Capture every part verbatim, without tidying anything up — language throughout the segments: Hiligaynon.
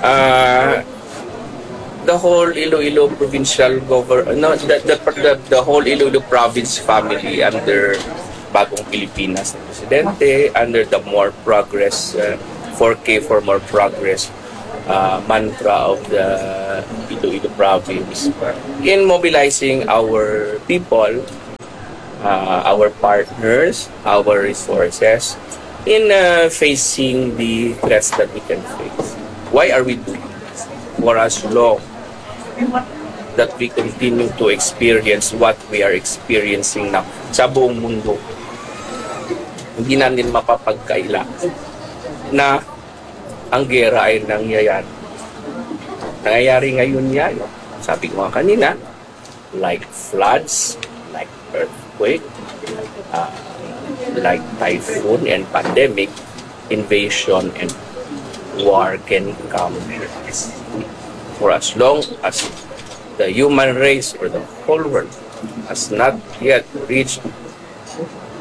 Uh, the whole Iloilo provincial government, no, the, the, the, the whole Iloilo province family under Bagong Pilipinas na presidente, under the more progress, uh, four K for more progress uh, mantra of the Iloilo province in mobilizing our people, uh, our partners, our resources in uh, facing the threats that we can face. Why are we doing this? For as long that we continue to experience what we are experiencing now sa buong mundo, hindi natin mapapagkaila na ang gera ay nangyayari. Nangyayari ngayon yan. Sabi ko nga kanina, like floods, like earthquake, uh, like typhoon and pandemic, invasion and war can come. For as long as the human race or the whole world has not yet reached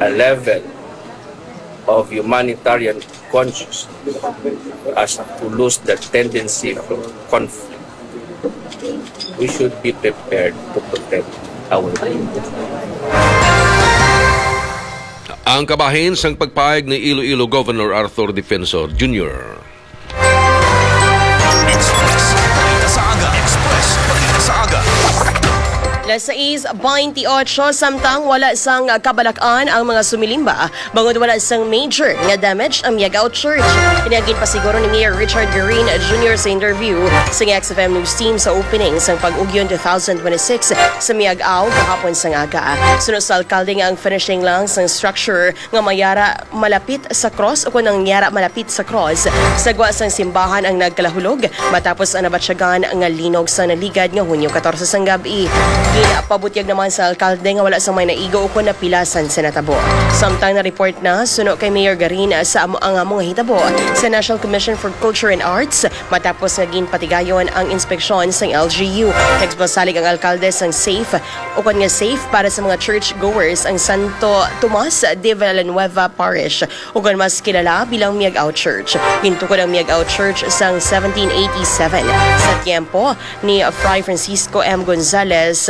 a level of humanitarian consciousness as to lose the tendency of conflict, we should be prepared to protect our people. Ang kabahin sang pagpahayag ni Iloilo Governor Arthur Defensor Junior. Express Balita sa Aga. Express Balita sa Aga. Las sais bainti otso, samtang wala sang kabalak-an ang mga sumilimba bangod wala sang major nga damage ang Miag-Ao Church. Ini ang ginpasiguro ni Mayor Richard Garin Junior sa interview sa X F M News Team sa opening sang Pag-Ugyon two thousand twenty-six sa Miag-Ao kahapon sang aga. Suno sa alkalde nga ang finishing lang sang structure nga mayara malapit sa cross o kung nangyara malapit sa cross sa gwa sang simbahan ang nagkalahulog matapos ang nabatyagan nga linog sa naligad nga Hunyo katorse sang gab-i. Ginapabutyag naman sa alkalde nga wala sang may naigo o kung napilasan sa natabo. Samtang na-report na suno kay Mayor Garin sa amo ang amo nga hitabo sa National Commission for Culture and Arts matapos nga ginpatigayon ang inspeksyon sang L G U. Nagpasalig ang alkalde sang safe ukon nga safe para sa mga church goers ang Santo Tomas de Villanueva Parish, ukon mas kilala bilang Miag-Ao Church. Gintukod ang Miag-Ao Church sang seventeen eighty-seven sa tiyempo ni Fray Francisco M. Gonzalez,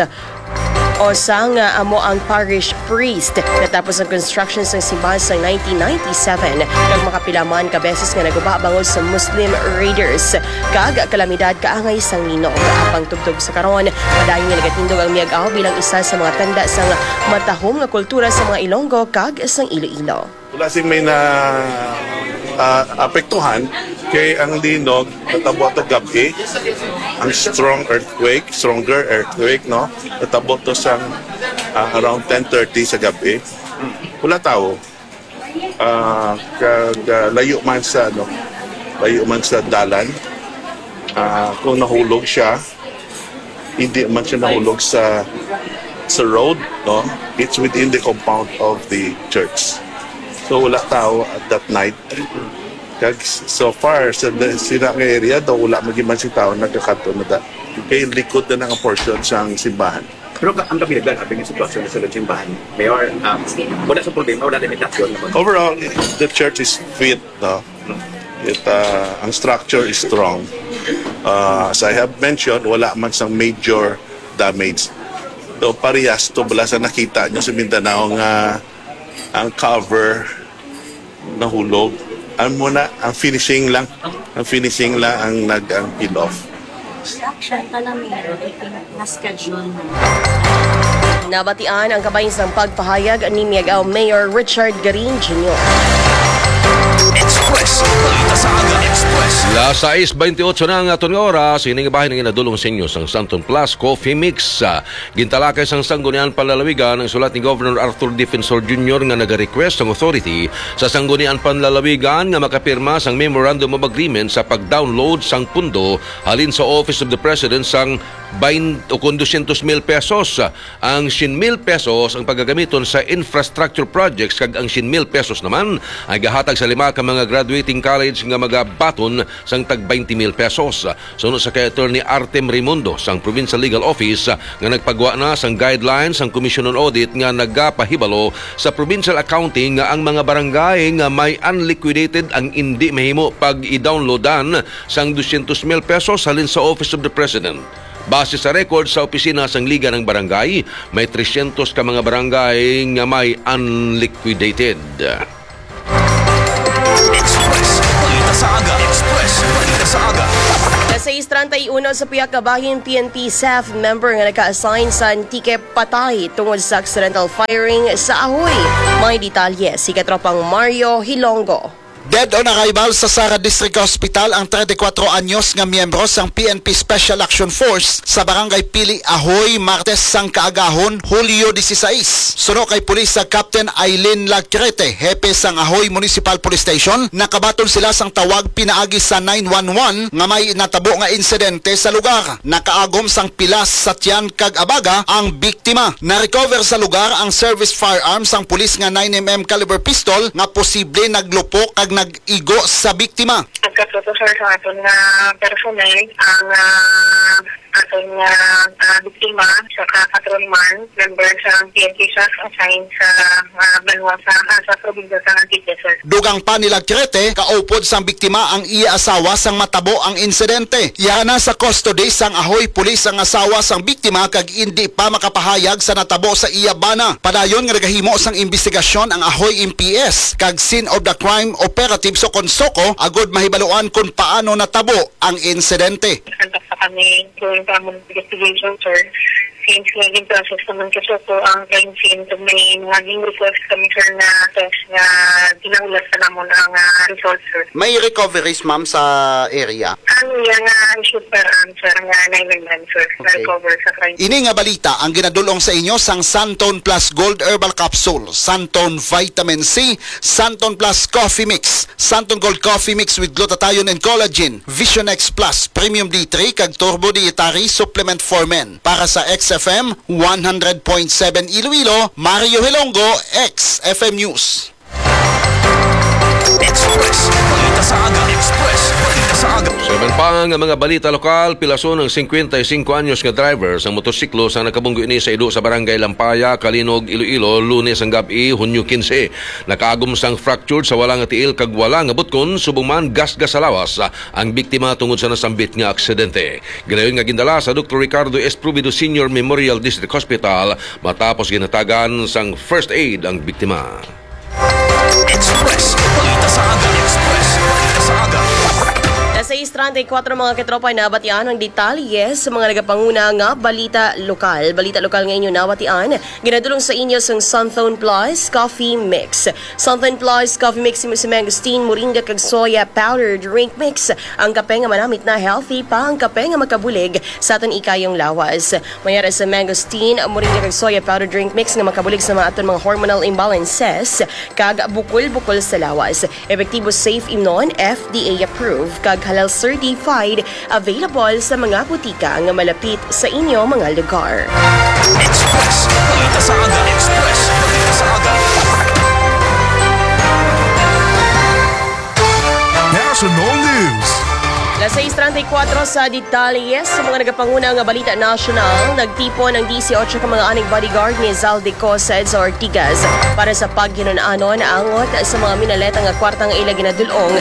usa nga amo ang parish priest. Natapos ang construction sang simbahan sa nineteen ninety-seven, kag makapila man ka beses nga naguba bangod sa Muslim raiders kag kalamidad kaangay sang linog. Apang tubtob sa karon, padayon nga nagatindog ang Miag-Ao bilang isa sa mga tanda sang matahom nga kultura sa mga Ilonggo kag sang Iloilo. Wala sing may na ah, apektuhan kay ang linog natabo to gab-i, ang strong earthquake, stronger earthquake, no? Natabo to sang ah, around ten thirty sa gab-i. Wala tawo. Ah, kag ah, layo man sa ano, layo man sa dalan. Ah, kung nahulog siya, hindi man siya nahulog sa sa road, no? It's within the compound of the church. So wala tao at that night. Kag s- so far sa da- sila nga area daw wala man gyud man si tao nagkakadto na da. Kay likod na nga portion sang simbahan. Pero ka- ang kabilagan, abi nga sitwasyon sa sulod simbahan, Mayor, um, wala sa problema, wala limitasyon naman. Overall, the church is fit, no? It, uh, ang structure is strong. Uh, as I have mentioned, wala man sang major damage. So, parehas to bala sa nakita nyo sa Mindanao nga ang cover nahulog. Ang muna, ang finishing lang. Ang finishing lang ang nag ang peel off. Construction pa na, Mayor. I think na-schedule na. Nabatian ang kabahin sang pagpahayag ni Miag-Ao Mayor Richard Garin Junior. Express. Balita sa Aga. Express. Las sais bainti otso na ang aton nga oras. Ini nga bahin ang ginadulong sa inyo sang Santon Plus Coffee Mix. Ah, gintalakay sang Sanggunian Panlalawigan ang sulat ni Governor Arthur Defensor Junior nga nagarequest sang authority sa Sanggunian Panlalawigan nga makapirma sang Memorandum of Agreement sa pag-download sang pundo halin sa Office of the President sang bain-, o kon dosyentos mil pesos. Ang syen mil pesos ang pagagamiton sa infrastructure projects kag ang syen mil pesos naman ay gahatag sa lima ka mga graduate Graduating College nga magabaton sang tag twenty mil pesos. Suno sa kay Attorney Artem Raimundo sang Provincial Legal Office nga nagpagwa na sang guidelines sang Commission on Audit nga nagapahibalo sa provincial accounting nga ang mga barangay nga may unliquidated ang indi mahimo pag-i-downloadan sang dosyentos mil pesos halin sa Office of the President. Base sa record sa opisina sang Liga ng Barangay, may tresyentos ka mga barangay nga may unliquidated. Express Balita sa Aga. Express Balita sa Aga. Sa sais treinta y uno sa pihak kabahin P N P staff member nga naka-assign sa Antique patay tungod sa accidental firing sa ahoy. May detalye si Katropang Mario Hilongo. Dead on arrival sa Sara District Hospital ang treinta y cuatro anyos nga miyembro sang P N P Special Action Force sa Barangay Pili, Ahoy, Martes sang kaagahon, Hulyo dieciséis. Suno kay Pulis sa Captain Aileen Lacrete, hepe sang Ahoy Municipal Police Station, nakabaton sila sang tawag pinaagi sa nine one one nga may natabo nga insidente sa lugar. Nakaagom sang pilas, satyan, kag abaga ang biktima. Na-recover sa lugar ang service firearm sang pulis nga nine M M caliber pistol nga posible naglupok kag nag-igo sa biktima. Nagkatuto, sir, sa aton nga personnel ang, ah, aton nga, ah, biktima, saka patrolman, member sa P N P staff assigned sa, ah, banwa sa, ah, sa probinsya sa Antique, sir. Dugang pa ni Lacrete, kaupod sang biktima ang iya asawa sang matabo ang insidente. Yara na sa custody sang Ahoy Police ang asawa sang biktima kag indi pa makapahayag sa natabo sa iya bana. Padayon nga nagahimo sang imbestigasyon ang Ahoy M P S kag scene of the crime operative sa Consoko agud mahibaluan kon paano natabo ang insidente. Nagkontak pa kami during sa among investigation, sir. Since nga gin-process naman sa Consoko ang crime scene, kag may naging request kami, sir, nga test nga ginahulat pa namon ang, ah, result, sir. May recoveries, ma'am, sa area? Ang iya nga issued firearm, sir, nga nine M M, sir, Okay. na-recover sa crime. Ini nga balita ang ginadul-ong sa inyo sang Santon Plus Gold Herbal Capsule, Santon Vitamin C, Santon Plus Coffee Mix, Santon Gold Coffee Mix with glutathione and collagen, Vision X Plus, Premium D three, kag Turbo Dietary Supplement for Men. Para sa X F M one hundred point seven Iloilo, Mario Hilongo, X F M News. Express Balita sa Aga. Express Balita sa Aga. Sa iban pa nga mga balita lokal, pilason ang singkwenta y singko anyos nga driver sang motosiklo sa nakabunggo ini sa ido sa Barangay Lampaya, Calinog, Iloilo, Lunes ang gab-i, Hunyo kinse. Nakaagom sang fractured sa wala nga tiil kag wala nga butkon, subong man gasgas sa lawas ang biktima tungod sa nasambit nga aksidente. Ginayon nga gindala sa Doktor Ricardo S. Provido Senior Memorial District Hospital matapos ginhatagan sang first aid ang biktima. Express Balita sa Aga. Express Balita sa Aga. Sa sais treinta y cuatro, mga katropa, nabatian ang detalye sa mga nagapanguna nga balita lokal. Balita lokal nga inyo nabatian, ginadulong sa inyo sang Santhone Plus Coffee Mix. Santhone Plus Coffee Mix, imo sa mangosteen, moringa, kag soya powder drink mix. Ang kape nga manamit na healthy pa ang kape nga makabulig sa aton ikayong lawas. Mayara sa mangosteen, moringa kag soya powder drink mix nga makabulig sa mga aton mga hormonal imbalances kag bukol-bukol sa lawas. Epektibo, safe imnon, F D A approved, kag halal certified, available sa mga butika nga malapit sa inyo mga lugar. Express Balita sa Aga. Express Balita sa Aga. National News. Las sais treinta y cuatro sa detalye sa mga nagapanguna nga balita nasyonal. Nagtipon ang dieciocho ka mga anhing bodyguard ni Zaldy Co sa EDSA Ortigas para sa paghinun-anon angot sa mga minaleta nga kwarta nga ila ginadul-ong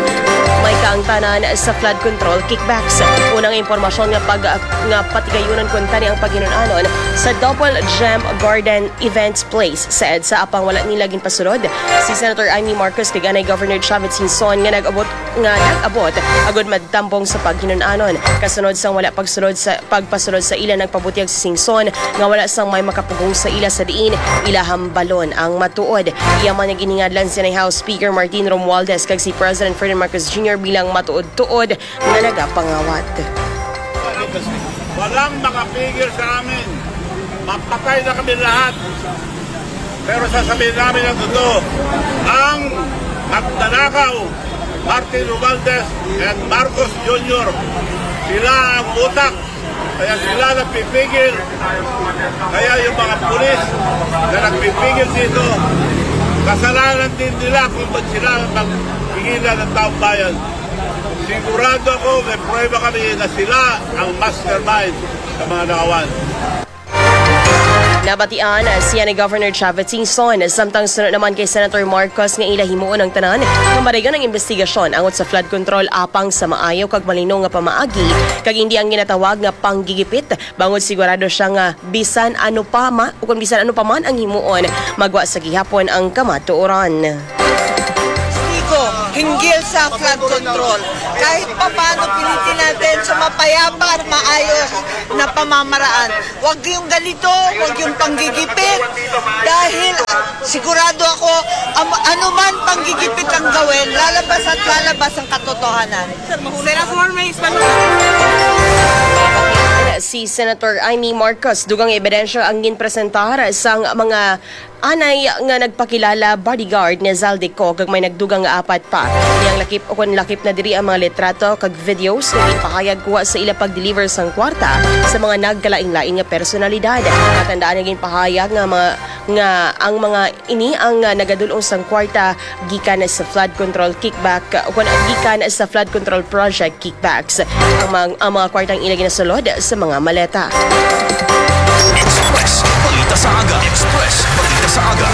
may kaangtanan sa flood control kickbacks. Unang impormasyon nga pag-, nga patigayunon kuntani ang paghinun-anon sa Double Gem Garden Events Place sa EDSA, apang wala nila ginpasulod si Senator Imee Marcos kag anay Governor Chavit Singson nga nag-abot, nga nag-abot agud madtambong sa paghinun-anon. Kasunod sang wala pagsulod sa pagpasulod sa ila, nagpabutyag si Singson nga wala sang may makapugong sa ila sa diin ila hambalon ang matuod. Iya man nga giningadlan si anay House Speaker Martin Romualdez kag si President Ferdinand Marcos Junior bilang matuod-tuod nga nagapangawat. Walang makapigil sa amin. Mapatay na kami lahat. Pero sasabihin namin ang totoo. Ang magnanakaw, Martin Romualdez and Marcos Junior, sila ang utak. Kaya sila nagpipigil. Kaya yung mga pulis na nagpipigil dito, kasalanan din nila kung ba't sila mag- Ila ng taong bayan. Sigurado ako, may prueba kami na sila ang mastermind sa mga nakawan. Nabatian siya ni Governor Chavit Singson, samtang suno naman kay Senator Marcos nga ila himuon ang tanan nga madayon ang investigasyon angot sa flood control apang sa maayo kag malino nga pamaagi, kag hindi ang ginatawag nga panggigipit, bangod sigurado siya nga bisan ano pa ma, o kung bisan ano pa man ang himuon, magwa sa gihapon ang kamatuoran. Tigo, hinggil sa flood control. Kahit papaano, pilitin natin sa mapayapa at maayos na pamamaraan. Huwag yung ganito, huwag yung panggigipit. Dahil sigurado ako, am- anuman panggigipit ang gawin, lalabas at lalabas ang katotohanan. Senator, may Si Senator Imee Marcos, dugang ebidensya ang ginpresentar sang mga anay nga nagpakilala bodyguard ni Zaldy Co, kag may nagdugang nga apat pa. Niyang lakip o kon lakip na diri ang mga litrato kag videos nga ginpahayag kuha sa ila pag-deliver sang kwarta sa mga nagkalain-lain nga personalidad. Matandaan nga ginpahayag nga mga nga ang mga ini ang, ah, nagadul-ong sang kwarta gikan sa flood control kickback o kon gikan sa flood control project kickbacks. Ang mga, ang mga kwartang ila ginasulod sa mga maleta. Express Balita sa Aga. Express Balita sa Aga.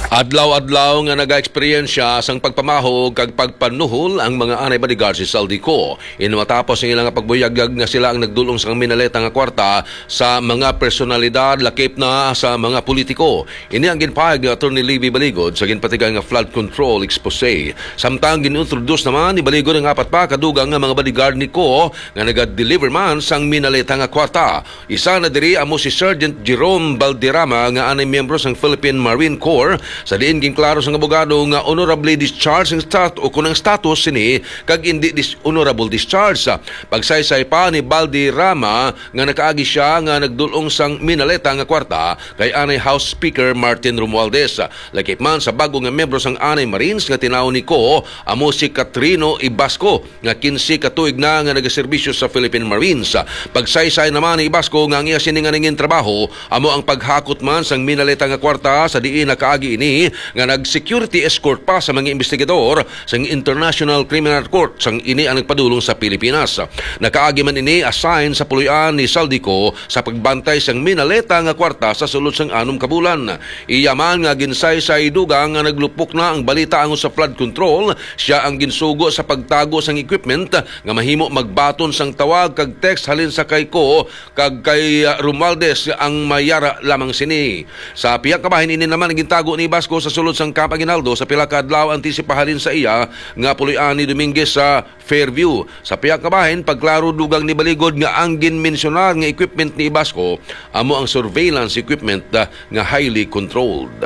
Adlaw-adlaw nga nagaeksperyensya sang pagpamahog kag pagpanuhol ang mga anay bodyguards ni Zaldy Co. Ini matapos ang ilang pagbuyagyag nga sila ang nagdul-ong sang minaleta nga kwarta sa mga personalidad, lakip na sa mga politiko. Ini ang ginpahayag ni Attorney Levy Baligod sa ginpatigan nga flood control expose. Samtang gin-introduce naman ni Baligod ang apat pa ka dugang nga mga bodyguard ni Co nga naga-deliver man sang minaleta nga kwarta. Isa na diri amo si Sergeant Jerome Balderrama nga anay miyembro sang Philippine Marine Corps, sa diin ginklaro sang abogado nga honorably discharged ang stat-, o kun ang status sini kag indi dis-, honorable discharge. Pagsaysay pa ni Balderrama nga nakaagi siya nga nagdul-ong sang minaleta nga kwarta kay anay House Speaker Martin Romualdez. Lakip man sa bag-o nga miyembro sang anay Marines nga tinawon ni Co amo si Catrino Ibasco, nga quince ka tuig na nga nagaserbisyo sa Philippine Marines. Pagsaysay naman ni Ibasco nga ang iya sini nga nangin trabaho amo ang paghakot man sang minaleta nga kwarta, sa diin nakaagi ini nga nag-security escort pa sa mga investigador sang International Criminal Court sang ini ang nagpadulong sa Pilipinas. Nakaagi man ini assign sa puloy-an ni Zaldy Co sa pagbantay sang minaleta nga kwarta sa sulod sang anom ka bulan. Iya man nga ginsaysay dugang nga naglupok na ang balita angot sa flood control, sia ang ginsugo sa pagtago sang equipment nga mahimo magbaton sang tawag kag text halin sa kay Co kag kay, ah, Romualdez ang may yara lamang sini. Sa pihak kabahin, ini naman ang gintago ni Ibasco sa sulod sang Camp Aguinaldo sa pila ka adlaw antes ipahalin sa iya nga puloy-an ni Dominguez sa Fairview. Sa pihak kabahin, pagklaro, dugang ni Baligod nga ang ginmensyonar nga equipment ni Ibasco amo ang surveillance equipment, ah, nga highly controlled.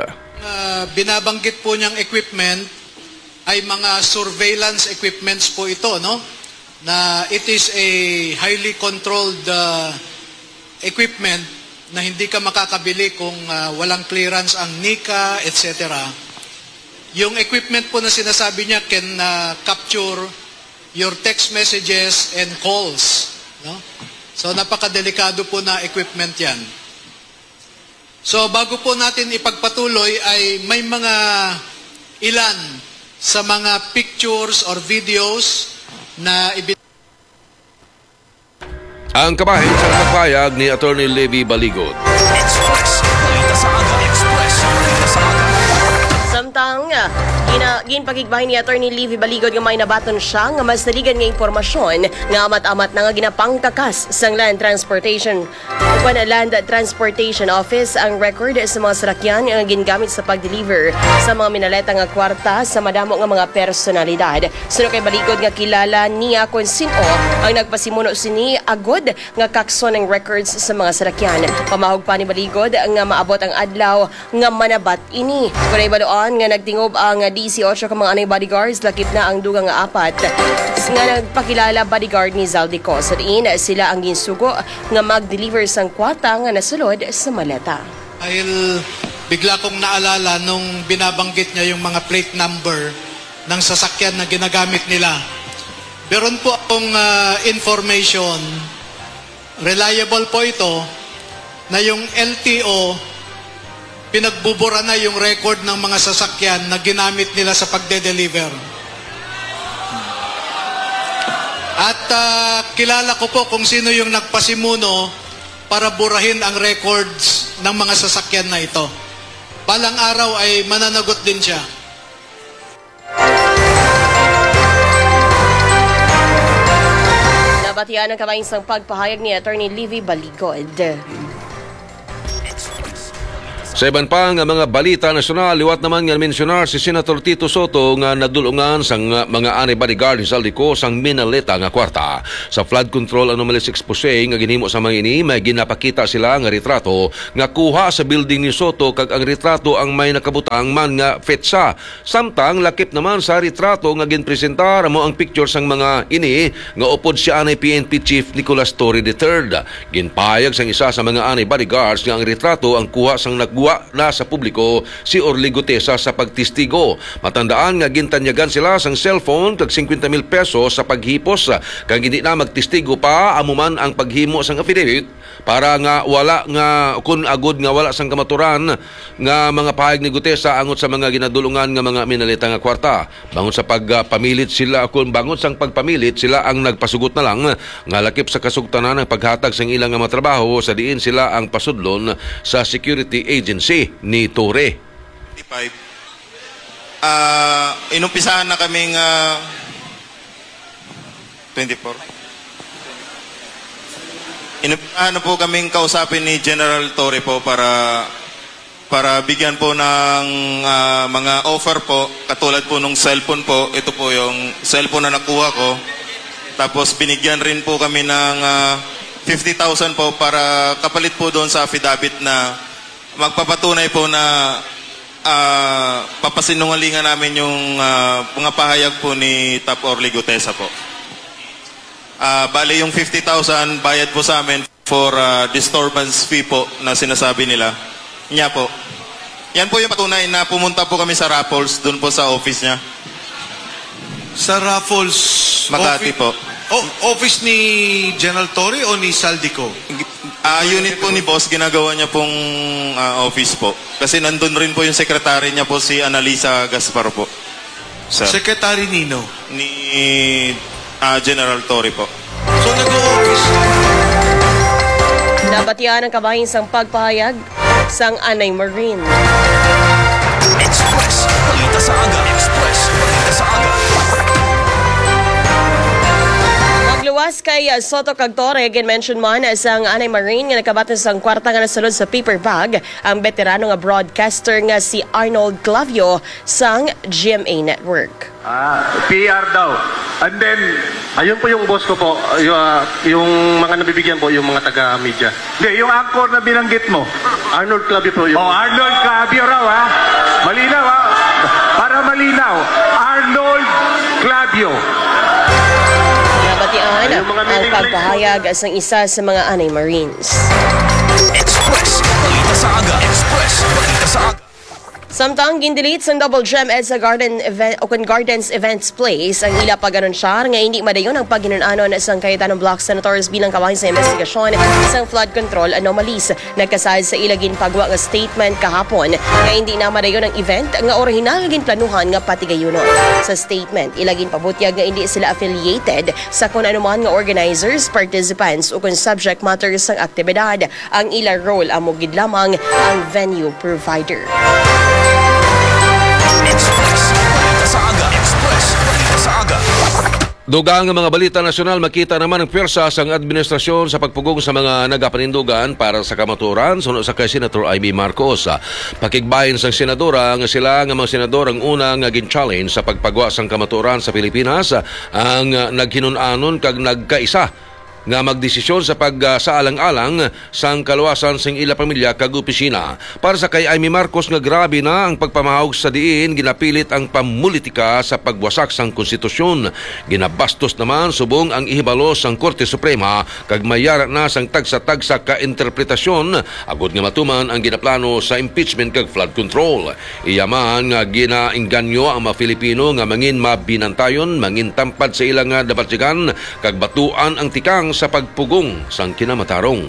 Ah, binabanggit po niyang equipment ay mga surveillance equipments po ito, no? Na it is a highly controlled, ah, equipment na hindi ka makakabili kung, ah, walang clearance ang NICA, et cetera. Yung equipment po na sinasabi niya can, ah, capture your text messages and calls, no? So, napakadelikado po na equipment yan. So, bago po natin ipagpatuloy ay may mga ilan sa mga pictures or videos na ibi- Ang kabahin sa pagpayag ni Attorney Levy Baligod. Express Balita sa Aga. Express Balita sa Aga. Samtang, ah, gina, ginpakigbahin ni Attorney Levy Baligod nga may nabaton siya nga mas naligan nga impormasyon nga amat-amat na nga ginapangtakas sang Land Transportation o kon Land Transportation Office ang record sa mga salakyan nga gingamit sa pag-deliver sa mga minaleta nga kwarta sa madamo nga mga personalidad. Suno kay Baligod nga kilala niya kon sin-o ang nagpasimuno sini agod nga kakson ang records sa mga salakyan. Pamahog pa ni Baligod nga maabot ang adlaw nga manabat ini. Kon nahibaluan nga nagtingob ang disiotso ka mga anay bodyguards, lakip na ang dugang nga apat nga nagpakilala bodyguard ni Zaldy Co. Sa diin sila ang ginsugo nga mag-deliver sang kwarta nga nasulod sa maleta. Dahil bigla kong naalala nung binabanggit niya yung mga plate number ng sasakyan na ginagamit nila. Meron po akong, ah, information, reliable po ito, na yung L T O pinagbubura na yung record ng mga sasakyan na ginamit nila sa pagde-deliver. At, ah, kilala ko po kung sino yung nagpasimuno para burahin ang records ng mga sasakyan na ito. Balang araw ay mananagot din siya. Nabatian ang kabahin sang pagpahayag ni Attorney Livy Baligod. Sa iban pa nga mga balita nasyonal, liwat naman nga mensionar si Senator Tito Soto nga nadulungan sang mga anay bodyguard ni Zaldy Co sang Minaleta nga kwarta. Sa flood control anomalies exposé nga ginhimo sa mga ini, may ginapakita sila nga retrato nga kuha sa building ni Soto, kag ang retrato ang may nakabutang man nga petsa. Samtang lakip naman sa retrato nga ginpresentar amo ang picture sang mga ini nga upod si anay P N P Chief Nicolas Torre the third. Ginpahayag sang isa sa mga anay bodyguards nga ang retrato ang kuha sang nagwa na sa publiko si Orly Gutesa sa pagtestigo. Matandaan nga gintanyagan sila sang cellphone kag singkwenta mil pesos sa paghipos, kag hindi na magtestigo pa amo man ang paghimo sang affidavit para nga wala nga kun agud nga wala sang kamaturan nga mga pahayag ni Gutesa angot sa mga ginadulungan nga mga Minaleta nga kwarta. Bangon sa pagpamilit sila, kun bangon sang pagpamilit, sila ang nagpasugot na lang nga lakip sa kasugtanan ang paghatag sang ila nga mga trabaho sa diin sila ang pasudlon sa security agency ni Torre. Five. Ah, inumpisahan na kaming ah, twenty-four. Inumpisahan na po kaming kausapin ni General Torre po para para bigyan po ng ah, mga offer po, katulad po nung cellphone po. Ito po yung cellphone na nakuha ko. Tapos binigyan rin po kami ng ah, fifty thousand po para kapalit po doon sa affidavit na magpapatunay po na ah, papasinungalingan namin yung ah, mga pahayag po ni Top Orly Gutesa po. Ah, bali yung fifty thousand bayad po sa amin for ah, disturbance fee po na sinasabi nila. Niya po. Yan po yung patunay na pumunta po kami sa Raffles, doon po sa office niya. Sa Raffles Makati offi- po. Oh, office ni General Torre o ni Zaldy Co? Ah, unit po ni boss, ginagawa niya pong ah, office po. Kasi nandun rin po yung secretary niya po, si Annalisa Gaspar po. Sir. Secretary nino? Ni ah, General Torre po. So nag-o-office. Nabatian ang kabahin sang pagpahayag sang Anay Marine. Express, balita sa aga. Express, balita sa aga. Magluwas kay Soto kag Torre, gin-mention man sang Anay Marine nga nagkabati sang kwarta nga nasulod sa paper bag ang veterano nga broadcaster nga si Arnold Clavio sang G M A Network. Ah, P R daw. And then, ayun po yung boss ko po, yung, ah, yung mga nabibigyan po, yung mga taga-media. Hindi, yung anchor na binanggit mo. Arnold Clavio po yung... Oh, Arnold Clavio raw, ha? Malinaw, ha? Para malinaw, Arnold Clavio. Nabatian ang pagpahayag sang isa sa mga Anay Marines. Express, balita sa aga. Express, balita sa aga. Samtang gindelete sang Double Gem EDSA Garden event, o kun Gardens Events Place ang ila pag-anunsyar nga hindi madayon ang paghinun-anon sang Cayetano Block Senators bilang kabahin sa investigasyon sang flood control anomalies. Nagkasad sa ila ginpagwa nga statement kahapon nga hindi na madayon ang event nga orihinal nga ginplanuhan nga patigayunon. Sa statement, ila ginpabutyag nga hindi sila affiliated sa kun ano man nga organizers, participants, o kun subject matter sang aktibidad. Ang ila role amo gid lamang ang venue provider. Express, balita sa aga. Express, balita sa aga. Dugang nga mga balita nasyonal, makita naman ang pwersa sang administrasyon sa pagpugong sa mga nagapanindugan para sa kamatuoran, suno sa kay Senator Imee Marcos. Pakigbahin sang senadora nga sila nga mga senador ang una nga gin-challenge sa pagpagwa sang kamatuoran sa Pilipinas, ang naghinun-anon kag nagkaisa nga magdesisyon sa pagsaalang-alang sang kaluwasan sing ila pamilya kag opisina. Para sa kay Imee Marcos nga grabe na ang pagpamahawg sa diin ginapilit ang pamulitika sa pagwasak sang konstitusyon. Ginabastos naman subong ang ihibalo sang Korte Suprema kag mayara na sang tagsa-tagsa ka interpretasyon agod nga matuman ang ginaplano sa impeachment kag flood control. Iya man nga ginaengganyo ang mga Filipino nga mangin mabinantayon, mangin tampad sa ila nga nabatyagan, kag batuan ang tikang sa pagpugong sang kinamatarong.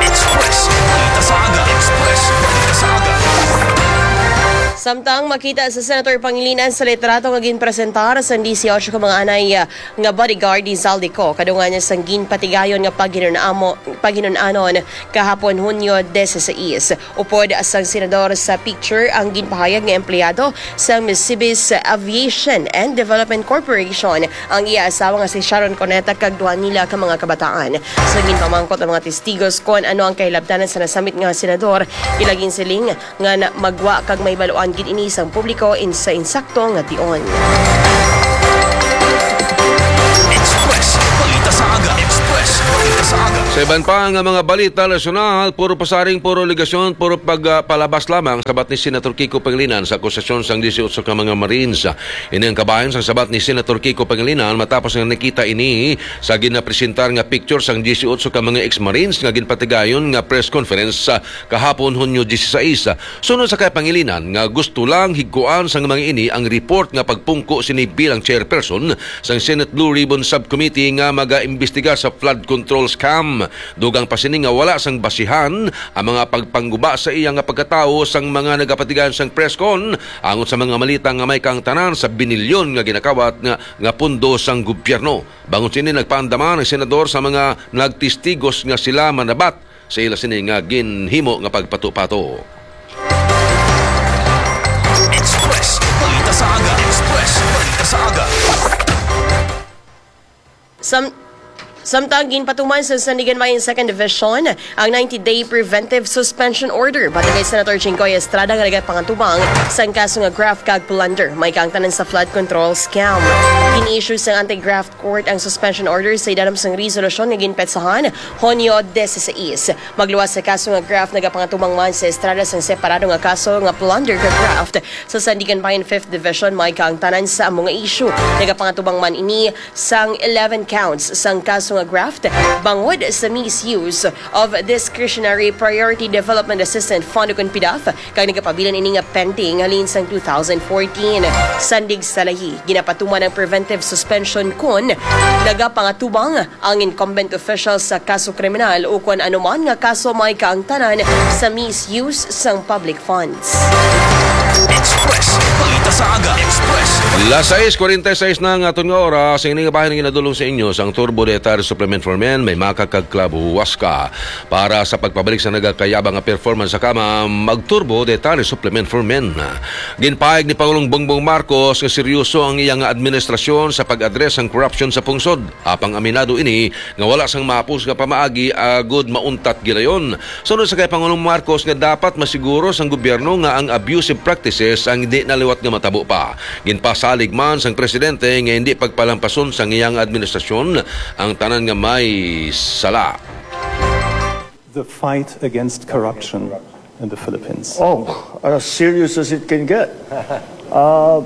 Express, balita sa aga. Express, balita sa aga. Samtang makita sa Senator Pangilinan sa litrato nga ginpresentar sang disiotso ka mga anay, ah, nga bodyguard ni Zaldy Co, kadungan niya sang ginpatigayon nga paghinunamo-, paghinunanon kahapon, Hunyo disisais. Upod sang senador sa picture ang ginpahayag nga empleyado sang Misibis Aviation and Development Corporation ang iya asawa nga si Sharon Cuneta kag duha nila ka mga kabataan. Sa ginpamangkot ang mga testigos kon ano ang kahilabtanan sa nasamit nga senador, ila ginsiling nga na-, magwa kag mahibaluan gid ini sang publiko in sa insakto nga tion. Express Balita sa Aga. Express Balita sa Aga. Sa iban pa nga mga balita nasyonal, puro pasaring, puro alegasyon, puro pag, ah, palabas lamang, sabat ni Senator Kiko Pangilinan sa akusasyon sang disiotso ka mga Marines. Ini ang kabahin sang sabat ni Senator Kiko Pangilinan matapos nga nakita ini sa ginapresentar nga picture sang disiotso ka mga ex-Marines nga ginpatigayon nga press conference sa kahapon, Hunyo disisais. Suno sa kay Pangilinan nga gusto lang higkuan sang mga ini ang report nga pagpungko sini bilang chairperson sang Senate Blue Ribbon Subcommittee nga magaimbestiga sa flood control scam. Dugang pa sini nga wala sang basihan ang mga pagpangguba sa iya nga pagkatawo sang mga nagapatigayon sang press con angot sa mga malita nga may kaangtanan sa binilyon nga ginakawat nga, nga pondo sang gobyerno. Bangod sini, nagpaandam ang senador sa mga nagtestigos nga sila manabat sa ila sini nga ginhimo nga pagpatupato. Express Balita sa Aga. Express Balita sa Aga. Sam-, samtang ginpatuman sa Sandiganbayan Second Division ang ninety-day preventive suspension order batok kay Senator Jinggoy Estrada nga nagapangatuman sang kaso nga graft kag plunder may kaangtanan sa flood control scam. Gin-issue sang anti-graft court ang suspension order sa idalom sang resolusyon nga ginpetsahan Hunyo disisais. Magluwas sa kaso nga graft, nagapangatuman man si Estrada sang separado nga kaso nga plunder kag graft sa Sandiganbayan Fifth Division may kaangtanan sa amo nga issue. Nagapangatuman man ini sang eleven counts sang kaso nga graft bangod sa misuse of Discretionary Priority Development Assistance Fund, ukon PDAF, kag nagapabilin ini nga pending halin sang two thousand fourteen. Sandig sa lahi, ginapatuman ang preventive suspension kon nagapangatubang ang incumbent official sa kaso kriminal ukon anuman nga kaso may kaangtanan sa misuse sang public funds. Express Balita sa Aga. Express. Las sais cuarenta y seis na ang aton nga oras. Ang ining bahin nga ginadulong sa inyo sang Turbo Dietary Supplement for Men, may maka kag Club Huasca. Para sa pagpabalik sa nagakayabang nga performance sa kama, mag-Turbo Dietary Supplement for Men. Ginpahayag ni Pangulong Bongbong Marcos nga seryoso ang iya nga administrasyon sa pag-address sang korupsyon sa pungsod. Apang aminado ini nga wala sang mahapos nga pamaagi agud mauntat gilayon. Sunod sa kay Pangulong Marcos nga dapat masiguro sang gobyerno nga ang abusive practices ang hindi na liwat nga matabo pa. Ginpasalig man sang presidente nga hindi pagpalampason sang iyang administrasyon ang tanan nga may sala. The fight against corruption in the Philippines? Oh, as serious as it can get. Uh,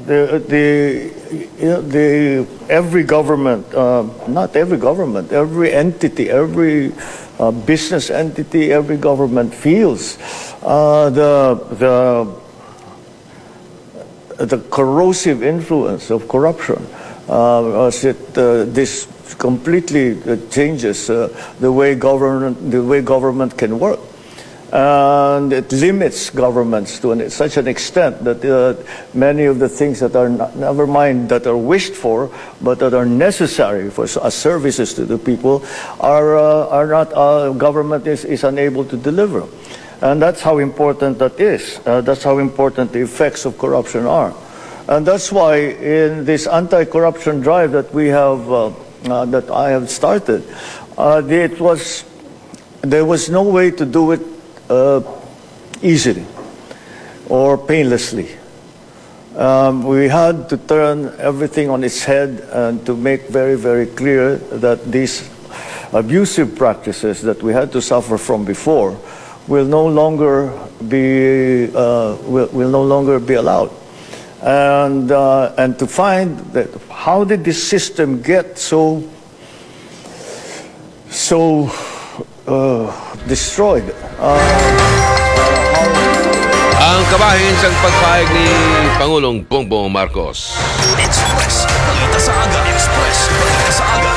the, the, you know, the, every government, uh, not every government, every entity, every, uh, business entity, every government feels, uh, the, the the corrosive influence of corruption, uh, as it, uh, this completely, uh, changes, uh, the way government, the way government can work. And it limits governments to an, such an extent that, uh, many of the things that are not, never mind that are wished for, but that are necessary for s-, as services to the people, are, uh, are not, uh, government is, is unable to deliver. And that's how important that is. Uh, that's how important the effects of corruption are. And that's why in this anti-corruption drive that we have, uh, uh, that I have started, uh, it was, there was no way to do it, uh, easily or painlessly. Um, we had to turn everything on its head and to make very, very clear that these abusive practices that we had to suffer from before will no longer be, uh, will, will no longer be allowed. And, uh, and to find that, how did this system get so, so, uh, destroyed? Uh, uh, how Ang kabahin sang pagpahayag ni Pangulong Bongbong Marcos. Express Balita sa Aga. Express Balita sa Aga.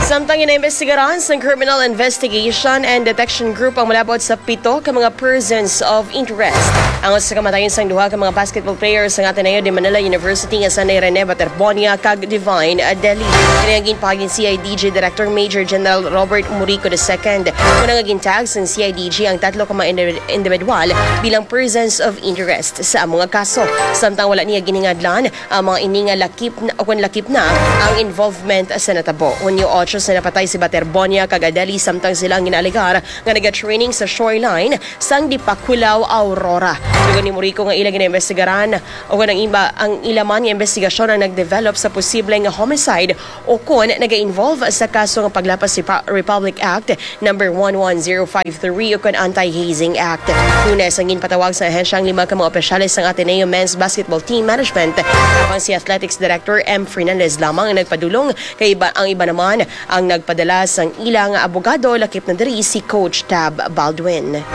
Sa Samtang ginaimbestigaran sang Criminal Investigation and Detection Group ang malabot sa pito ka mga persons of interest. Ang usa ka kamatayon sang duha ka mga basketball players sang Ateneo de Manila University nga sanay Rene Baterbonia kag Divine Adeli. Kini ang ginpahayag ni C I D G Director Major General Robert Murico the second. Una nga gintag sang C I D G ang tatlo ka mga indi- individual bilang persons of interest sa amo nga kaso. Samtang wala niya giningadlan ang mga ini nga lakip na, o kung lakip na ang involvement sa natabo. Hunyo otso sa napatay si Baterbonia kag Adeli samtang sila ang ginaalegar nga naga-training sa shoreline sang Dipakulaw, Aurora. Tugon ni Murico nga ila ginaimbestigaran o kung ang iba ang ila man nga investigasyon ang nagdevelop sa posible nga homicide o kon naga-involve sa kaso nga paglapas sa Pa- Republic Act number one one zero five three o kon Anti-Hazing Act. Lunes ang ginpatawag sa ahensya ang lima ka mga opisyales sang Ateneo Men's Basketball Team Management. Apang si Athletics Director M Fernandez lamang ang nagpadulong, kay iba, ang iba naman ang nagpadala sang ilang abogado, lakip na diri si Coach Tab Baldwin.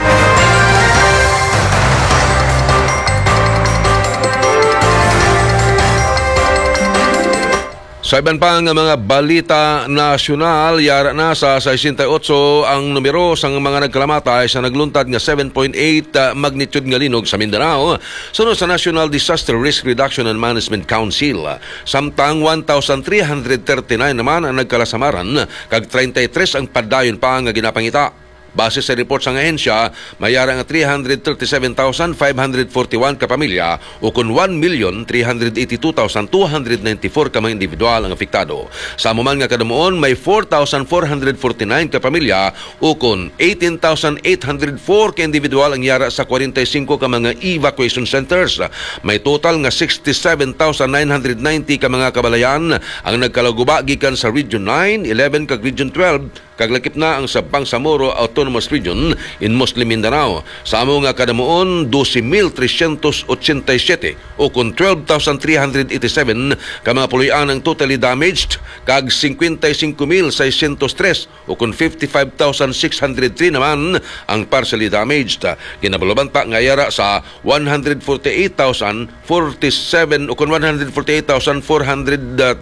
Sa iban pa nga mga balita nasyonal, yara na sa sesenta y otso ang numero sang mga nagkalamatay sa nagluntad nga seven point eight magnitude nga linog sa Mindanao, suno sa National Disaster Risk Reduction and Management Council. Samtang one thousand three hundred thirty-nine naman ang nagkalasamaran, kag treinta y tres ang padayon pa nga ginapangita. Base sa report sang ahensya, may yara nga three hundred thirty-seven thousand five hundred forty-one ka pamilya, ukon one million three hundred eighty-two thousand two hundred ninety-four ka mga individual ang apektado. Sa amo man nga kadamuon, may four thousand four hundred forty-nine ka pamilya, ukon eighteen thousand eight hundred four ka individual ang yara sa forty-five ka mga evacuation centers. May total nga sixty-seven thousand nine hundred ninety ka mga kabalayan ang nagkalaguba gikan sa Region nine, eleven kag Region twelve, kag lakip na ang sa Bangsamoro Autonomous Region in Muslim Mindanao. Sa amo nga kadamuon, doce mil trescientos ochenta y siete, o kon twelve thousand three hundred eighty-seven ka mga puloy-an ang totally damaged, kag cincuenta y cinco mil seiscientos tres, o kon fifty-five thousand six hundred three naman ang partially damaged. Ginabalubanta nga yara sa one hundred forty-eight thousand forty-seven, o kon one hundred forty-eight thousand four hundred, uh,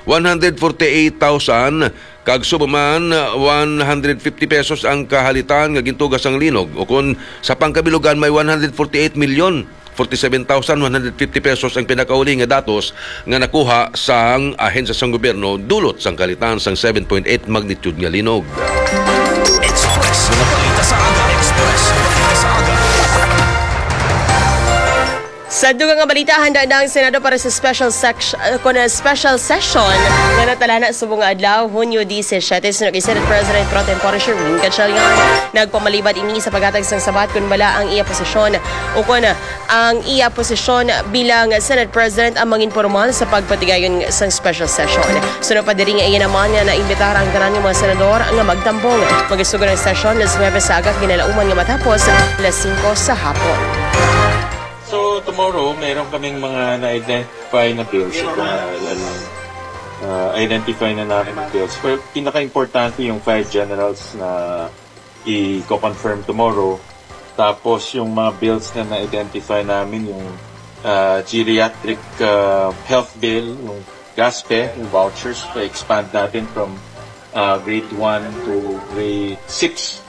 one hundred forty-eight thousand kag subong man, one hundred fifty pesos ang kahalitan nga gintuga sang linog, o kon sa pangkabilugan, may one hundred forty-eight million forty-seven thousand one hundred fifty pesos ang pinakauli nga datos nga nakuha sang ahensya sang gobyerno dulot sang kahalitan sang seven point eight magnitude nga linog. Express. Mga balita sa aga. Express. Balita sa aga. Sa dugang nga balita, handa na ang Senado para sa special section, uh, kun, uh, special session nga natalana subong nga adlaw, Hunyo disisiete, suno kay Senate President Pro Tempore Sherwin Gatchalian. Nagpamalibat ini sa paghatag sang sabat kun bala ang iya posisyon o kun, uh, ang iya posisyon bilang Senate President ang mangin pormal sa pagpatigayon sang special session. Suno pa diri nga iya naman nga naimbitar ang tanan nga mga senador nga magtambong. Magasugon ang session las nuebe sa aga, ginalauman nga matapos las singko sa hapon. So, tomorrow, meron kaming mga na-identify na bills. Ito nga, ano, ah, identify na namin yung bills. Pero pinaka-importante yung five generals na i-confirm tomorrow. Tapos, yung mga bills na na-identify namin, yung, ah, geriatric, ah, health bill, yung GASPE, yung vouchers, pa-expand natin from, ah, grade one to grade six.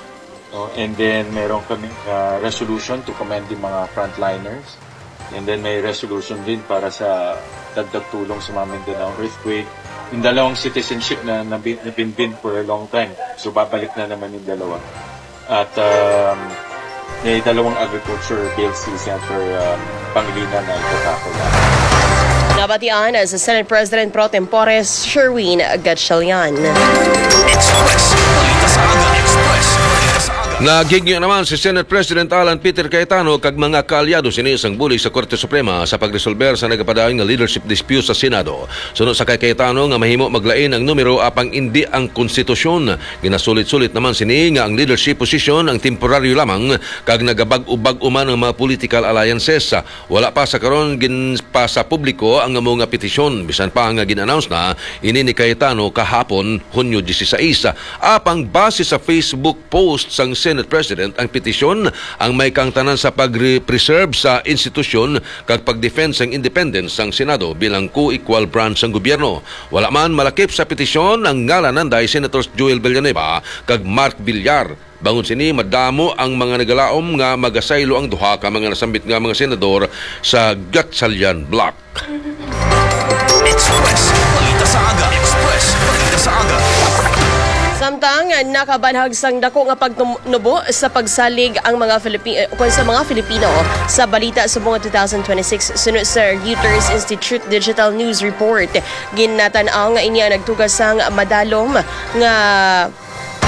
No? And then, meron kami, ah, resolution to commend yung mga frontliners. And then, may resolution din para sa dagdag tulong sa mga Mindanao earthquake. Yung dalawang citizenship na nabi-, nabinbin for a long time. So, babalik na naman yung dalawa. At, um, may dalawang agriculture bills si Senator, um, Pangilinan na itatakol na. Nabatian sa Senate President Pro Tempore Sherwin Gatchalian. Express. Balita sa aga. Express. Balita sa aga. Naghigyo naman si Senate President Alan Peter Cayetano kag mga kaalyado sini sang bulig sa Korte Suprema sa pagresolber sa nagapadayon nga leadership dispute sa Senado. Suno sa kay Cayetano nga mahimo maglain ang numero apang indi ang konstitusyon. Ginasulit-sulit naman sini nga ang leadership position ang temporaryo lamang kag nagabag-o-bag-o man ang mga political alliances. Wala pa sa karon ginpa sa publiko ang amo nga petisyon, bisan pa nga gin-announce na ini ni Cayetano kahapon, Hunyo dieciséis. Apang base sa Facebook post sang Senate President ang petisyon ang may kaangtanan sa pag-preserve sa institusyon kag pag-defend sang independence sang Senado bilang co-equal branch sang gobyerno. Wala man malakip sa petisyon ang ngalan nanday Senators Joel Villanueva kag Mark Villar. Bangod sini, madamo ang mga nagalaom nga magasaylo ang duha ka mga nasambit nga mga senador sa Gatchalian bloc. Express Balita sa Aga. Express Balita sa Aga. Samtang nakabanhag sang dako nga pagnubo sa pagsalig ang mga Filipi-, eh, ukon sa mga Filipino sa balita subong nga two thousand twenty-six, suno sa Reuters Institute Digital News Report, ginatan-aw nga ini ang nagtugas sang madalom nga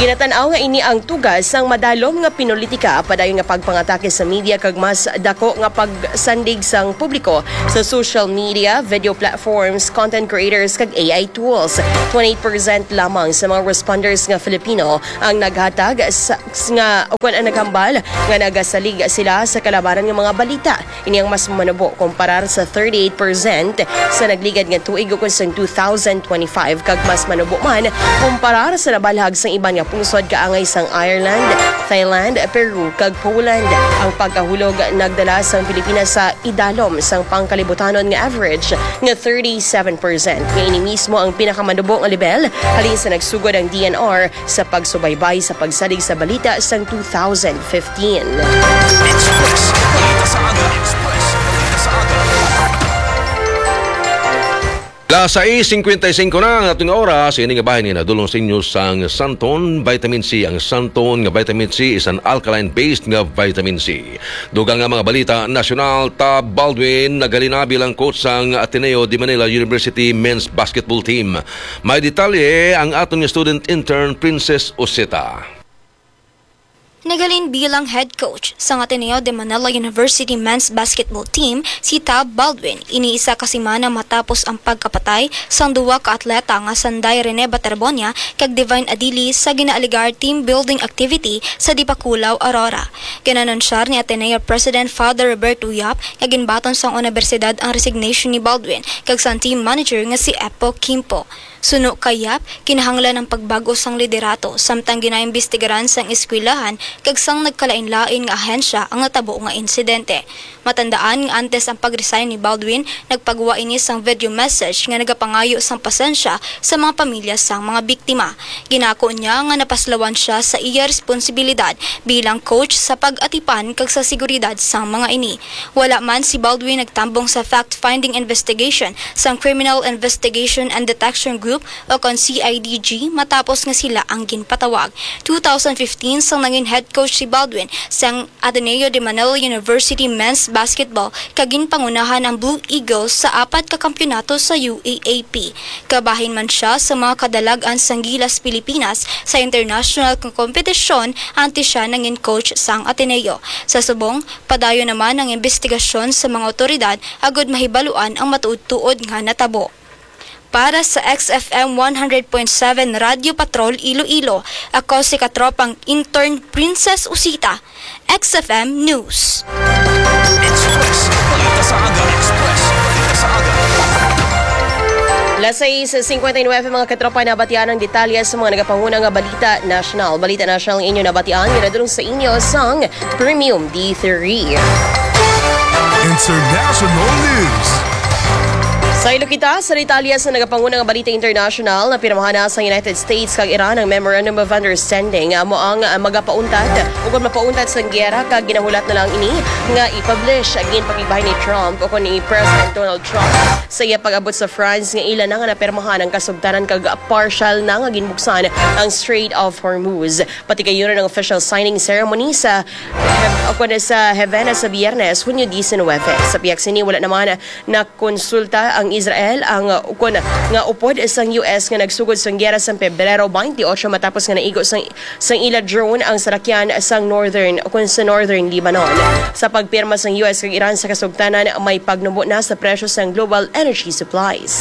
Ginatan-aw nga ini ang tugas sang madalom nga pinulitika, padayon nga pagpangatake sa media kag mas dako nga pagsandig sang publiko sa social media, video platforms, content creators kag A I tools. Twenty-eight percent lamang sa mga responders nga Filipino ang naghatag sa, nga, o kon ang naghambal nga nagasalig sila sa kalabanan nga mga balita. Ini ang mas manubo kumparar sa thirty-eight percent sa nagligad nga tuig, ukon sang two thousand twenty-five, kag mas manubo man kumparar sa nabalhag sang iban nga pungsod kaangay sang Ireland, Thailand, Peru, kag Poland. Ang pagkahulog nagdala sang Pilipinas sa idalom sang pangkalibutanon nga average nga thirty-seven percent, nga ini mismo ang pinakamanubo nga lebel halin sa nagsugod ang D N R sa pagsubaybay sa pagsalig sa balita sang two thousand fifteen. Express Balita sa Aga. Express Balita sa Aga. Las sais cincuenta y cinco na ang aton nga oras. Ini nga bahin nga nadulong sa inyo sang Santon Vitamin C. Ang Santon nga Vitamin C is an alkaline-based nga vitamin C. Dugang nga mga balita nasyonal, Tab Baldwin naghalin na bilang coach sang Ateneo de Manila University men's basketball team. May detalye ang aton nga student intern, Princess Oseta. Naghalin bilang head coach sang Ateneo de Manila University men's basketball team si Tab Baldwin. Ini isa ka semana matapos ang pagkapatay sang duwa ka atleta nga sanday Rene Baterbonia kag Divine Adili sa ginaalegar team building activity sa Dipakulaw, Aurora. Ginanunsyar ni Ateneo President Father Roberto Yap nga ginbaton sang unibersidad ang resignation ni Baldwin kag sang team manager nga si Epo Quimpo. Suno kay Yap, kinahanglan ang pagbag-o sang liderato, samtang ginaimbestigaran sang eskwelahan kag sang nagkalainlain nga ahensya ang natabo nga insidente. Matandaan nga antes ang pag-resign ni Baldwin, nagpagwa ini sang video message nga nagapangayo sang pasensya sa mga pamilya sang mga biktima. Ginako niya nga napaslawan sia sa iya responsibilidad bilang coach sa pag-atipan kag sa seguridad sang mga ini. Wala man si Baldwin nagtambong sa fact-finding investigation sang Criminal Investigation and Detection Group o kon C I D G matapos nga sila ang ginpatawag. Two thousand fifteen sang nangin head coach si Baldwin sang Ateneo de Manila University men's basketball kag ginpangunahan ang Blue Eagles sa apat ka kampiyonato sa U A A P. Kabahin man sia sa mga kadalag-an sang Gilas Pilipinas sa international nga kompetisyon antes sia nangin coach sang Ateneo. Sa subong, padayon naman ang imbestigasyon sa mga awtoridad agud mahibaluan ang matuod-tuod nga natabo. Para sa X F M one hundred point seven Radyo Patrol Iloilo, ako si katropang intern Princess Usita, X F M News. Express Balita sa Aga. Express Balita sa Aga. Las sais cincuenta y nueve, mga katropa, nabatian ang detalye sa mga nagapanguna nga balita nasyonal. Balita nasyonal ang inyo nabatian, ginadulong sa inyo sang Premium D three. International News. Saylo kita sa detalye sa nagapanguna nga balita international. Napirmahan na sa United States kag Iran ang Memorandum of Understanding. Amo ang, ah, magapauntad, ukon mapauntat sang giyera, kag ginahulat na lang ini nga i-publish. Ginpakigbahin ni Trump, ukon ni President Donald Trump, sa iya pag-abot sa France nga ila na nga napirmahan ang kasugtanan kag partial na nga ginbuksan ang Strait of Hormuz. Patigayunon ang official signing ceremony sa Hev-, o kuno sa Havana sa Biyernes, Hunyo diecinuebe. Sa pihak sini, wala naman nakonsulta ang Israel, ang, uh, ukon nga upod sang U S nga nagsugod sang giyera sang Pebrero twenty-eight matapos nga naigo sang, sang ila drone ang sarakyan sang northern, o kun sa northern Lebanon. Sa pagpirma sang U S kag Iran sa kasugtanan, may pagnubo na sa presyo sang global energy supplies.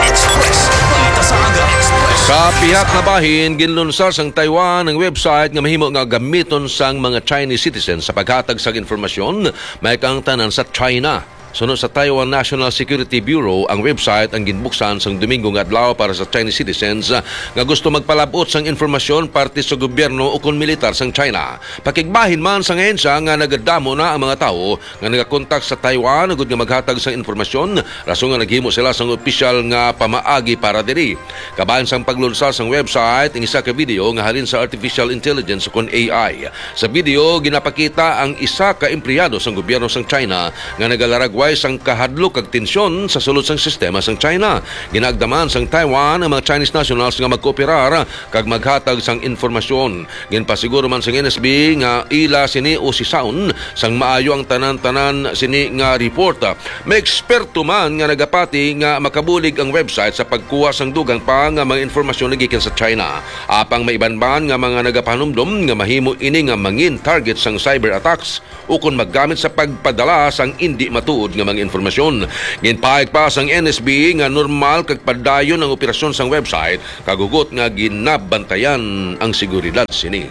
Express. Balita sa Aga. Express. Sa pihak nga bahin, ginlunsar sang Taiwan ang website nga mahimo nga gamiton sang mga Chinese citizens sa paghatag sang informasyon may kaangtanan sa China. Suno sa Taiwan National Security Bureau, ang website ang ginbuksan sang Domingo nga adlaw para sa Chinese citizens, ah, nga gusto magpalab-ot sang impormasyon parte sa gobyerno ukon militar sang China. Pakigbahin man sang ahensya nga nagadamo na ang mga tawo nga nagakontak sa Taiwan agud nga maghatag sang impormasyon, rason nga naghimo sila sang opisyal nga pamaagi para diri. Kabahin sang paglunsar sang website, ang isa ka video nga halin sa artificial intelligence ukon A I. Sa video, ginapakita ang isa ka empleyado sang gobyerno sang China nga nagalaragway sang kahadlok kag tensyon sa sulod sang sistema sang China. Ginaagdaman sang Taiwan ang mga Chinese nationals nga magkooperar kag maghatag sang impormasyon. Ginpasiguro man sang N S B nga ila sini usisaon sang maayo ang tanan-tanan sini nga report. May eksperto man nga nagapati nga makabulig ang website sa pagkuha sang dugang pa nga mga impormasyon nga gikan sa China. Apang may iban man nga mga nagapahanumdom nga mahimo ini nga mangin target sang cyber attacks ukon maggamit sa pagpadala sang indi matuod nga mga impormasyon. Ginpahayag pa sang N S B nga normal kag padayon ang operasyon sang website kag hugot nga ginabantayan ang seguridad sini.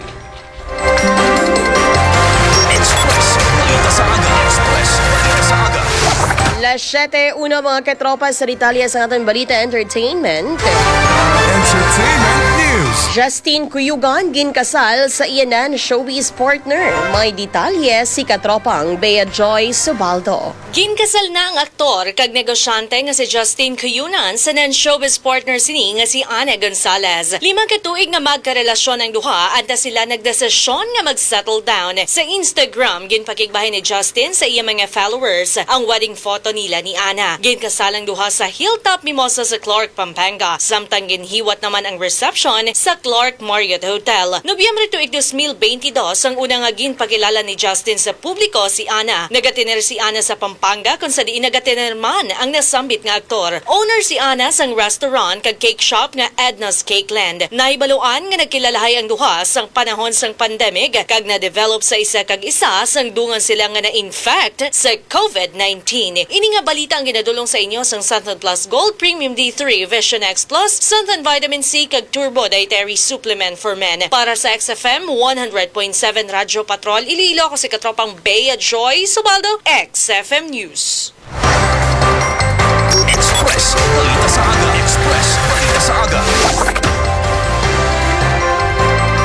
Express Balita sa Aga. Express Balita sa Aga. Las siete uno, mga katropa, sa detalye sa aton balita entertainment. Entertainment news. Justin Cuyugan ginkasal sa iya nan showbiz partner. May detalye si katropang Bea Joy Subaldo. Ginkasal na ang aktor kag negosyante nga si Justin Cuyugan sa nan showbiz partner sini nga si Ana Gonzalez. Lima ka tuig nga magkarelasyon ang duha, antes sila nagdesisyon nga mag-settle down. Sa Instagram, ginpakigbahin ni Justin sa iya mga followers ang wedding photo nila ni Ana. Ginkasal ang duha sa Hilltop Mimosa sa Clark, Pampanga, samtang ginhiwat naman ang reception sa Clark Marriott Hotel. Nobyembre tuig dos mil beintidos ang una nga ginpakilala ni Justin sa publiko si Ana. Nagatener si Ana sa Pampanga, kung sa diin nagatener man ang nasambit nga aktor. Owner si Ana sang restaurant kag cake shop nga Edna's Cake Land. Nahibaluan nga nagkilalahay ang duha sang panahon sang pandemic kag na-develop sa isa kag isa sang dungan sila nga na-infect sa COVID nineteen. Ini nga balita ang ginadulong sa inyo sang Santon Plus Gold, Premium D three, Vision X Plus, Santon Vitamin C, kag Turbo Dietary Supplement for Men. Para sa X F M one hundred point seven Radyo Patrol Iloilo, ako si Katropang Bea Joy Subaldo, X F M News. Express Balita sa Aga. Express Balita sa Aga.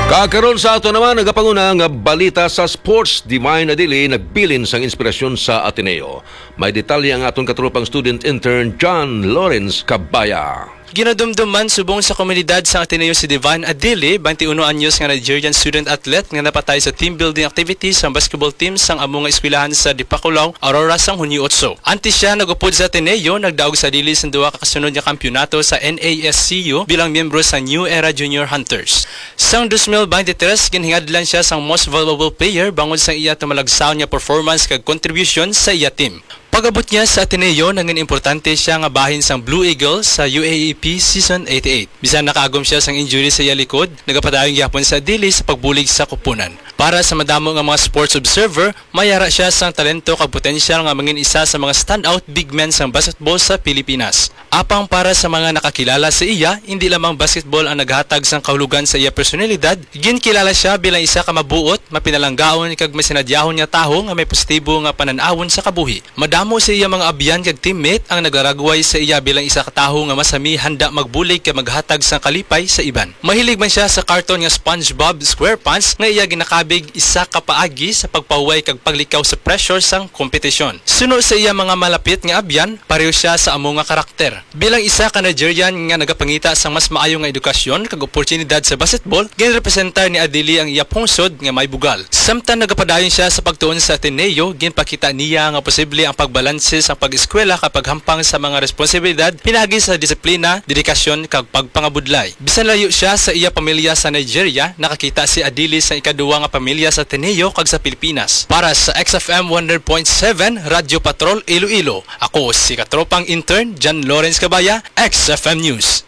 Kakaron sa ato naman, nagapanguna nga balita sa sports. Divine Adili nagbilin sang inspirasyon sa Ateneo. May detalye ang aton katropang student intern John Lawrence Cabaya. Ginadumduman subong sa komunidad sang Ateneo si Divine Adili, twenty-one anyos nga Nigerian student athlete nga napatay sa team building activity sang basketball team sang amo nga eskwelahan sa Dipakulaw, Aurora, sang Hunyo otso. Antes siya nag-upod sa Ateneo, nagdaog si Adili sang duha ka kasunod nga kampiyonato sa N A S C U bilang miyembro sa New Era Junior Hunters. Sang dos mil beintitres, ginhingadlan siya sang Most Valuable Player bangod sa iya tumalagsaon nga performance kag contribution sa iya team. Pag-abot niya sa Ateneo, nangin importante siya nga bahin sang Blue Eagles sa U A A P Season eighty-eight. Bisan nakaagom siya sang injury sa iya likod, nagapadayon gihapon si Adili sa pagbulig sa kupunan. Para sa madamo nga mga sports observer, may ara siya sang talento kag potensyal nga mangin isa sa mga standout big men sang basketball sa Pilipinas. Apang para sa mga nakakilala sa iya, hindi lamang basketball ang naghatag sang kahulogan sa iya personalidad, ginkilala siya bilang isa ka mabuot, mapinalanggaon, kag masinadyahon nga tawo nga may positibo nga panan-awon sa kabuhi. Madamo sa iya mga abyan kag teammate ang naglaragway sa iya bilang isa ka tawo nga masami, handa magbulig kag maghatag sang kalipay sa iban. Mahilig man siya sa cartoon nga SpongeBob SquarePants nga iya ginakabig isa ka paagi sa pagpahuway kag paglikaw sa pressure sang kompetisyon. Suno sa iya mga malapit nga abyan, pareho siya sa amo nga karakter. Bilang isa ka Nigerian nga nagapangita sang mas maayo nga edukasyon kag oportunidad sa basketball, ginrepresentar ni Adili ang iya pungsod nga may bugal. Samtang nagapadayon siya sa pagtuon sa Ateneo, ginpakita niya nga posible ang pagbalanse sang pag-eskwela kag paghampang sa mga responsibilidad pinaagi sa disiplina, dedikasyon, kag pagpangabudlay. Bisan layo siya sa iya pamilya sa Nigeria, nakakita si Adili sa ikaduha nga pamilya sa Ateneo kag sa Pilipinas. Para sa X F M one hundred point seven Radyo Patrol Iloilo, ako si katropang intern John Lawrence Cabaya, X F M News.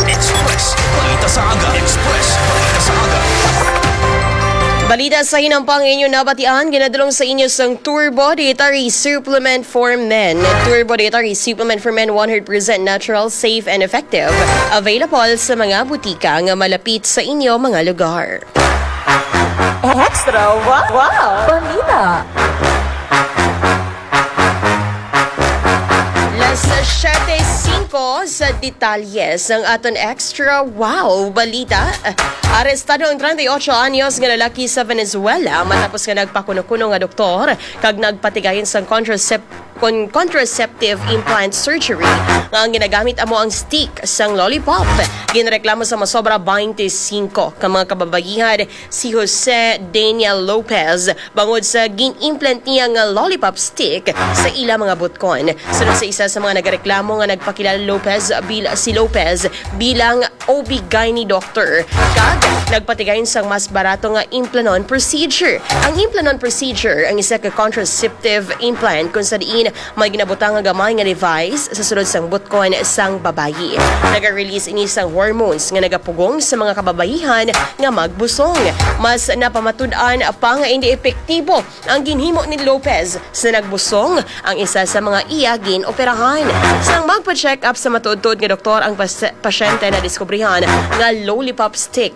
Express Balita sa Aga. Express Balita sa Aga. Balita sa hinampang inyo nabatian, ginadulong sa inyo sang Turbo Dietary Supplement for Men. Turbo Dietary Supplement for Men, one hundred percent natural, safe, and effective. Available sa mga butika nga malapit sa inyo mga lugar. Extra wow, wow. Balita. Ko sa detalye sang aton extra wow balita. Arestado ang treinta y ocho anyos nga lalaki sa Venezuela matapos nga nagpakuno-kuno nga doktor kag nagpatigayon sang contracep- kon contraceptive implant surgery nga ang ginagamit amo ang stick sang lollipop. Ginareklamo sa masobra twenty-five ka mga kababayihan si Jose Daniel Lopez bangod sa gin-implant niya nga lollipop stick sa ila mga butkon. Sunod sa isa sa mga nagareklamo nga nagpakilala Lopez bil si Lopez bilang O B gyne doctor kag nagpatigayon sang mas barato nga implanon procedure. Ang implanon procedure ang isa ka contraceptive implant kung sa diin may ginabutang nga gamay nga device sa sulod sang butkon sang babayi. Naga-release ini sang hormones nga nagapugong sa mga kababayihan nga magbusong. Mas napamatud-an pa nga indi epektibo ang ginhimo ni Lopez sa nagbusong ang isa sa mga iya gin-operahan. Sang magpa-check up sa matuod-tuod nga doktor ang pas- pasyente, nadiskubrihan nga lollipop stick